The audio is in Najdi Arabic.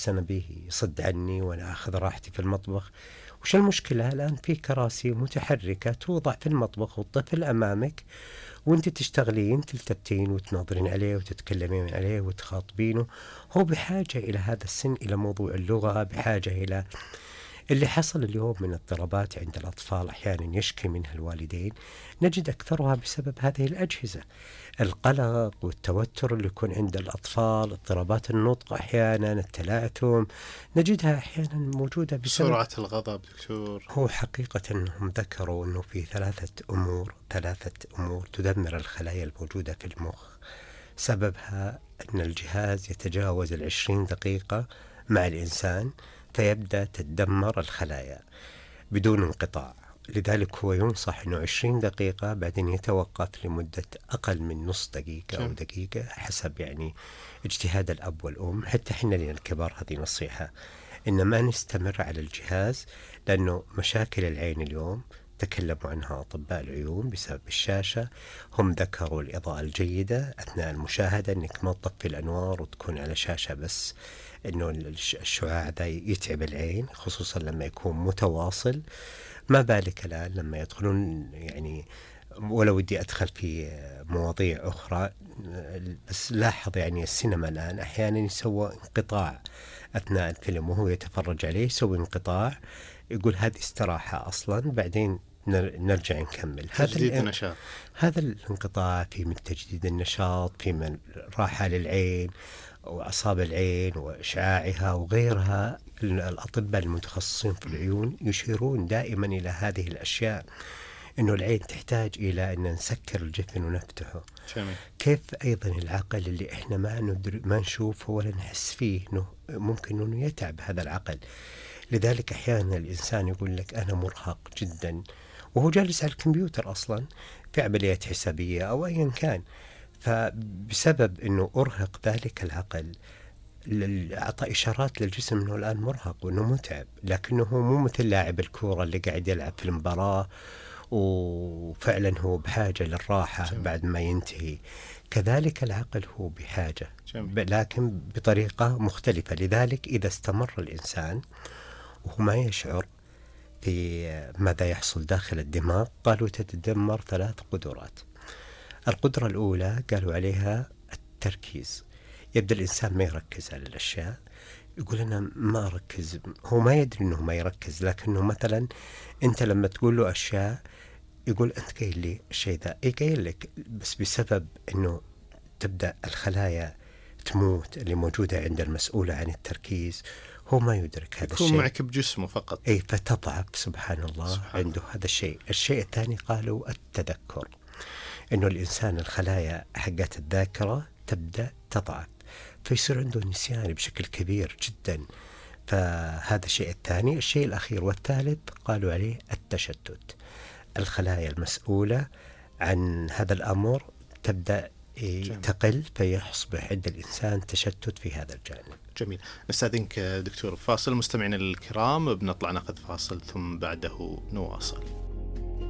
أنا به يصد عني وأنا آخذ راحتي في المطبخ. وش المشكلة؟ الآن في كراسي متحركة توضع في المطبخ والطفل أمامك وأنت تشتغلين تلتفتين وتناظرين عليه وتتكلمين عليه وتخاطبينه. هو بحاجة إلى هذا السن إلى موضوع اللغة، بحاجة إلى اللي حصل اليوم من اضطرابات عند الأطفال أحيانا يشكي منها الوالدين، نجد أكثرها بسبب هذه الأجهزة. القلق والتوتر اللي يكون عند الأطفال، اضطرابات النطق أحيانا، التلعثم، نجدها أحيانا موجودة بسبب سرعة الغضب. دكتور، هو حقيقة أنهم ذكروا أنه في ثلاثة أمور تدمر الخلايا الموجودة في المخ. سببها أن الجهاز يتجاوز 20 دقيقة مع الإنسان فيبدأ تتدمر الخلايا بدون انقطاع. لذلك هو ينصح أنه 20 دقيقة بعدين يتوقف لمدة أقل من نص دقيقة أو دقيقة حسب يعني اجتهاد الأب والأم. حتى حنا لنا الكبار هذه نصيحة إن ما نستمر على الجهاز، لأنه مشاكل العين اليوم تكلموا عنها أطباء العيون بسبب الشاشة. هم ذكروا الإضاءة الجيدة أثناء المشاهدة، أنك ما تطفي الأنوار وتكون على شاشة بس، أنه الشعاع ذا يتعب العين خصوصا لما يكون متواصل. ما بالك الآن لما يدخلون يعني، ولا ودي أدخل في مواضيع أخرى، بس لاحظ يعني السينما الآن أحيانا يسوى انقطاع أثناء الفيلم وهو يتفرج عليه، يسوي انقطاع يقول هذه استراحة أصلا بعدين نرجع نكمل. تجديد النشاط. هذا الانقطاع في من تجديد النشاط، في من راحة للعين وأعصاب العين وإشعاعها وغيرها. الأطباء المتخصصين في العيون يشيرون دائما إلى هذه الأشياء، إنه العين تحتاج إلى أن نسكر الجفن ونفتحه. جميل. كيف أيضا العقل اللي إحنا ما نشوفه ولا نحس فيه، إنه ممكن إنه يتعب هذا العقل. لذلك أحيانا الإنسان يقول لك أنا مرهق جدا وهو جالس على الكمبيوتر أصلا في عمليات حسابية أو أيا كان، فبسبب أنه أرهق ذلك العقل أعطى إشارات للجسم أنه الآن مرهق وأنه متعب، لكنه مو مثل لاعب الكورة اللي قاعد يلعب في المباراة وفعلا هو بحاجة للراحة بعد ما ينتهي. كذلك العقل هو بحاجة لكن بطريقة مختلفة. لذلك إذا استمر الإنسان وهو ما يشعر في ماذا يحصل داخل الدماغ، قالوا تتدمر 3 قدرات. القدرة الأولى قالوا عليها التركيز. يبدأ الإنسان ما يركز على الأشياء، يقول أنا ما أركز، هو ما يدري أنه ما يركز، لكنه مثلا أنت لما تقول له أشياء يقول أنت قايل لي الشيء ذا، قايل لك، بس بسبب أنه تبدأ الخلايا تموت اللي موجودة عند المسؤولة عن التركيز، هو ما يدرك هذا الشيء، يكون معك بجسمه فقط. أي فتضعف سبحان الله عنده هذا الشيء. الشيء الثاني قالوا التذكر، إنه الإنسان الخلايا حقت الذاكرة تبدأ تضعف فيصير عنده نسيان بشكل كبير جدا. فهذا الشيء الثاني. الشيء الأخير والثالث قالوا عليه التشتت. الخلايا المسؤولة عن هذا الأمر تبدأ تقل فيصبح عند الإنسان تشتت في هذا الجانب. جميل. نستأذنك دكتور فاصل. مستمعينا الكرام بنطلع ناخذ فاصل ثم بعده نواصل.